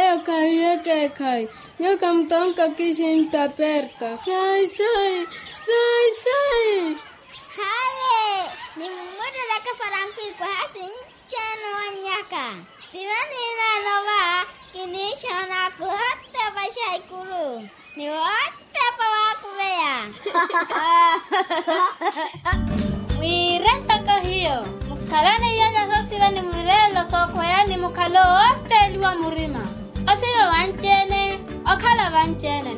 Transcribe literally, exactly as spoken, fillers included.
Eyo khayi ekeekhayi. Nyuwo khamutonka kixinta perta. Sai sai. Sai sai. Haye. Nimmurereke faranku ikwaha sinci-ene owannyaka. Piva nineene ova kiniixoona kuhotepa xaikuru. Ni wotepa waakuveya. Mwiire ntoko hiyo mukhalane iyalya soosiva ni mwireelo sookhweya ni mukhalo wootteliwa murima. Osiva vanci-ene. Okhala vanci-ene.